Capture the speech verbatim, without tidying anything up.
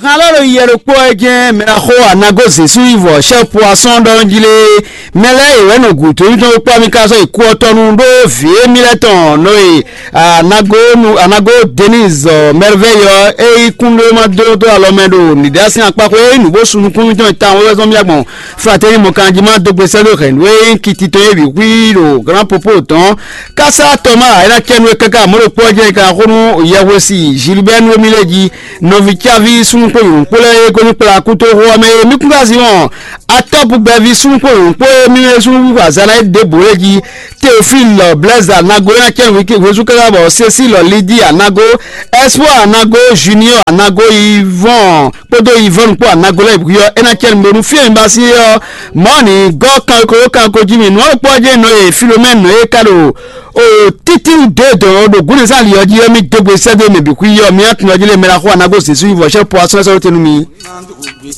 Han lɔ ɖo yɛ ɖokpó ɛ jɛ́n mɛ ná xo anago zěsú yi vɔ sɛ́ poisson ɖɔ jí lé. Mɛ lɛ́ɛ yě wɛ nɔ gǔdo nyitɔn kpɔ́ mi ka sɔ́ yi kú ɔ́ tɔnu ɖó vǐ émí lɛ́ɛ tɔn nɔ e anago nu anago Denise Merveille ɔ́, é yí kún ɖó ma dó dó alɔ mɛ ɖo nǐɖásín akpákpó é nǔ bó su nukúnnú tɔn tawun wɛ zɔn mía gbɔn fratɛ́ni mɔkanjima dó gbe sɛ́ ɖó hɛ̌nnu e nyí kiti tɔn é bǐ xwí ɖo Grand Popo tɔn. Kásá Tɔmáa é ná cɛ nú we káká mɔ̌ ɖokpó ɔ́ jɛ é ka xó nú yɛhwesi Gilbert nú émí lɛ́ɛ jí. Nɔví cáví súnnu kpó nyɔ̌nu kpó lɛ́ɛ e gosín kplá kútóxó ɔ́ mɛ e mí kún ka zin wɔn atɔ́ bugbɛví súnnu kpó nyɔ̌nu kpó e mí mɛ súnnu wíwú azǎn ná é ɖěbǔ é jí. Teofílu Blɛ́za Nago é ná cɛ nǔ hwezú káká bɔ Cecílɔ Lidí Anago, Ɛspɔ́ɔ Anago, Junior Anago, Ivɔn kpódó Ivɔn kpó Anago lɛ́ɛ bǐ ɔ́ é ná cɛ nǔ bónú fí e mi ba sí é ɔ́. Mɔ̌ ní gɔ́ kanko kanko jí mi nǔ ɔ́ kpɔ́ jẹ́ nɔ e Filomɛ́nu nɔ e ka ɖo o títín dó dɔn ɖo gǔnɛzán ali ɔ́ jí ɔ́, mì dó gbe sɛ́ dó mɛ bǐ xwí ɔ́, mì atún ɔ́ jí lé mɛ ná xo anago Zezú yi vɔ̌ sɛ́ po asɔ́ sɛ́ tɛnu mi.